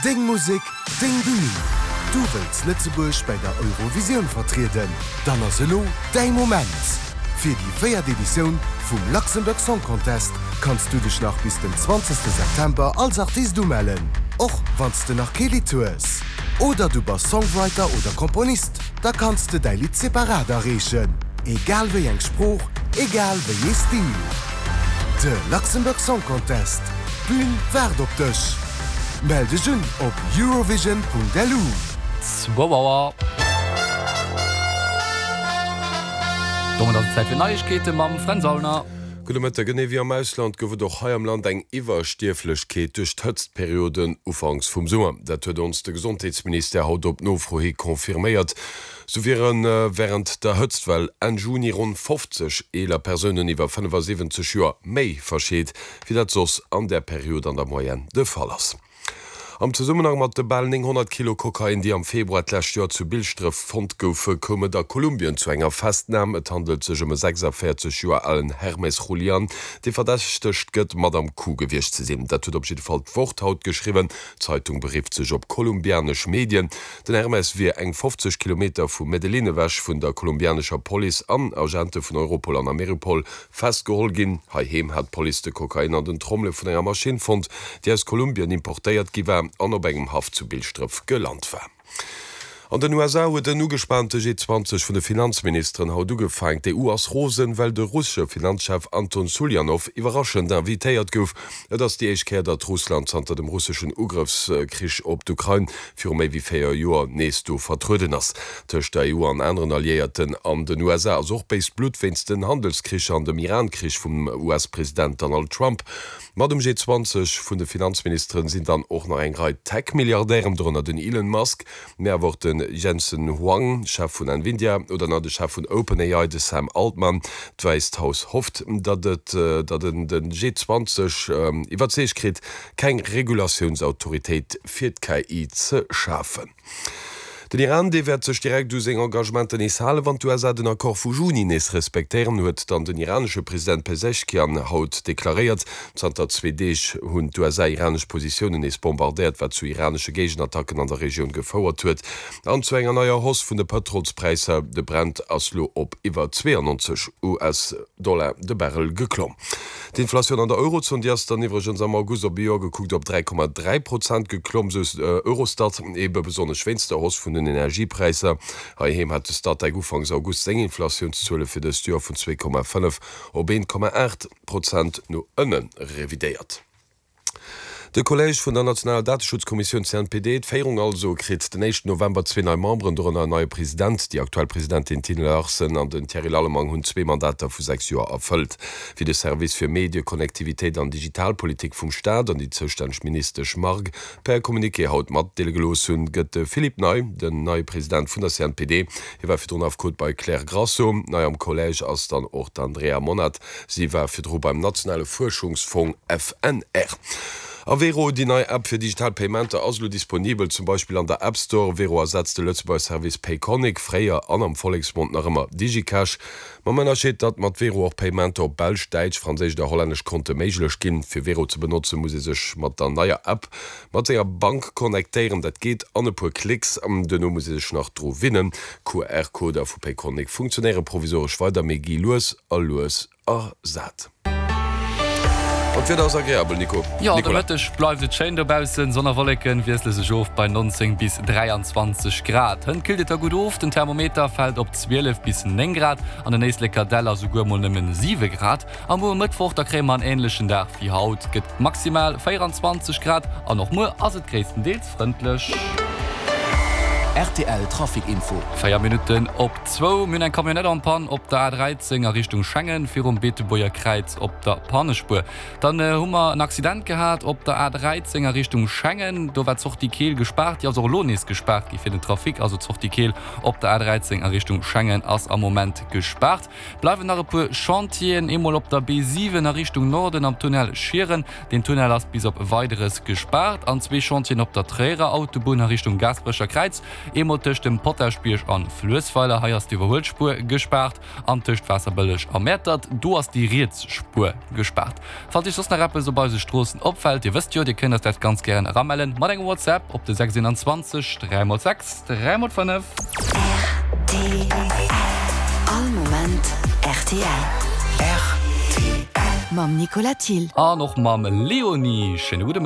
Deng Musek, deng Bühn! Du wëlls Lëtzebuerg bäi der Eurovisioun vertrieden? Dann ass elo däi Moment! Fir déi véiert Editioun vum Luxembourg Song Contest kanns du dech nach bis den 20 September als Artist umellen, och wann s de nach kee Lidd hues. Oder du bass Songwriter oder Komponist, da kanns de däi Lidd separat areechen, egal wéi eng Sprooch, egal wéi ee Stil. De Luxembourg Song Contest, d'Bün waart op dech! Mell dech un op eurovision.lu. Zwou Auer. Domat ass et Zäit fir Neiegkeete mam Fränz Aulner. Gudde Mëtteg. Genee wéi am Ausland gouf et och hei am Land eng Iwwerstierflechkeet duerch d'Hëtztperioden ufanks vum Summer. Dat huet ons de Gesondheetsministère haut op Nofro hi confirméiert. Sou wiere wärend der Hëtztwell Enn Juni ronn 50 eeler Persounen iwwer 75 Joer méi verscheet, wéi dat soss an där Period an der Moyenne de Fall ass. Am Zesummenhang mat de bal 900 Kilo Kokain, déi am Februar d'lescht Joer zu Bilschdref fonnt goufe, koum et a Kolumbien zu enger Festnam. Et handelt sech ëm e 46 Joer alen Hermes Julian, dee verdächtegt gëtt, mat am Coup gewiescht ze sinn. Dat huet op jidde Fall d'Wort haut geschriwwen. D'Zeitung berifft sech op kolumbianesch Medien. Den Hermes wier eng 50 Kilometer vu Medellin ewech vun der kolumbianescher Police an Agente vun Europol an Ameripol Festgeholl ginn. Heiheem hat d'Police de Kokain an den Trommele vun enger Maschinn fonnt, déi aus Kolumbien importéiert gi war an op engem Haff zu Bilschdref gelant war. An den USA huet en ugespaante G20 vun de Finanzministeren haut ugefaangen. D'EU ass rosen, well de russesche Finanzchef Anton Suljanow iwwerraschend invitéiert gouf. Et ass déi éischt Kéier, datt Russland zanter dem russeschen Ugrëffskrich op d'Ukrain viru méi wéi 4 Joer nees do vertrueden ass. Tëscht der EU an aneren Alliéierten an den USA ass och béist Blutt wéinst den Handelskricher an dem Iran-Krich vum US-President Donald Trump. Mat um G20 vun de Finanzministeren sinn dann och nach eng Rei Tech-Milliardären, dorënner den Elon Musk, mee awer och de Jensen Huang, Chef vun Nvidia, oder nach de Chef vun OpenAI, de Sam Altman. D'Wäisst Haus hofft, datt et datt en de G20 iwwerzeegt kritt, keng Regulatiounsautoritéit fir d'KI ze schafen. Den Iran, dee wäert sech direkt u seng Engagementer nees halen, wann d'USA den Accord vu Juni nees respektéieren, huet dann den iranesche President Pezeshkian haut deklaréiert. Zanter zwee Deeg hunn d'USA iranesch Positiounen nees bombardéiert, wat zu iranesche Géigenattacken an der Regioun gefouert huet an zu enger neier Hausse vun de Pëtrolspräisser. De Brent ass lo op iwwer 92 US-Dollar de Barrel geklomm. D'Inflatioun an der Eurozon, déi ass dann iwwregens am August op e Joer gekuckt op 3,3 Prozent geklomm, sou Eurostat, ebe besonnesch wéinst der Hausse vun den Energiepräisser. Heiheem hat de Statec ufanks August seng Inflatiounszuele fir dëst Joer vun 2,5 op 1,8 Prozent no ënne revidéiert. De Collège vun der nationaler Dateschutzkommissioun CNPD, d'Féierung also, kritt den éischten November zwee nei Memberen, dorënner en neie President. Déi aktuell Presidentin Tine Larsen an den Thierry Lallemang hunn zwee Mandater vu 6 Joer erfëllt. Wéi de Service fir Medie, Connectivitéit an Digitalpolitik vum Staat an déi zoustänneg Ministesch Margue per Communiqué haut matdeele gelooss hunn, gëtt de Philippe Ney den neie President vun der CNPD. Hie war virdrun Affekot bei Klère Grasso. Nei am Collège ass dann och d'Andrea Monat. Si war virdru beim nationale Fuerschungsfong FNR. A Wero, déi nei App fir digital Paymenter, ass elo disponibel, zum Beispill an der App Store. Wero ersetzt de Lëtzebuerger Service Payconiq, fréier an am Volleksmond nach ëmmer Digicash, mam Ënnerscheed, datt mat Wero och Paymenter op belsch, däitsch, franséisch oder hollännesch Konte méiglech ginn. Fir Wero ze benotzen, muss ee sech mat der neier App Mat senger Bank connectéieren, dat geet an e puer Klicks. Duerno muss ee sech nach dru winnen. QR-Coder vu Payconiq funktionéiere provisoresch weider, mee gi lues a lues ersat. An d'Wieder ass agreabel, Nico. Jo, de Mëtteg bleift et schéin dobaussen. Sonn a Wolleken wiessle sech of bei 19 bis 23 Grad. Hënt killt et da gutt of, den Thermometer fält op 12 bis 9 Grad, an den Éisleker Däller souguer mol nëmmen 7 Grad. A muer Mëttwoch, da kréie mer en änlechen Dag wéi haut, gëtt maximal 24 Grad an och muer ass et gréisstendeels frëndlech. Rtl Trafic Info. 4 Minutten op zwou. Mir hunn eng Camionnette en panne op der A13 a Richtung Schengen, virum Beetebuerger Kräiz op der Pannespuer. Dann hu mer en Accident gehat op der A13 a Richtung Schengen. Do war d'Sortie Keel gespaart. Déi ass och elo nees gespaart gi fir den Trafic. Also d'Sortie Keel op der A13 a Richtung Schengen ass am Moment gespaart. Bleiwen nach e puer Chantieren, eemol op der B7 a Richtung Norden am Tunnel Schieren, deen Tunnel ass bis op Weideres gespaart, an zwee Chantieren op der Tréierer Autobunn a Richtung Gaasperecher Kräiz. Eemol tëscht dem Potaschbierg an Fluessweiler, hei ass d'Iwwerhuelspuer gespaart, an tëscht Waasserbëlleg a Mäertert, do ass déi riets Spuer gespaart. Falls Iech soss nach eppes op eise Stroossen opfält, Dir wësst jo, Dir kënnt eis dat ganz gären eramellen mat engem WhatsApp op de 621 3 x 6 3 x 5. Rtl. All Moment rtl. Rtl. Mam Nicolas Thill. An och mam Léonie. Schéine gudde Mëtteg.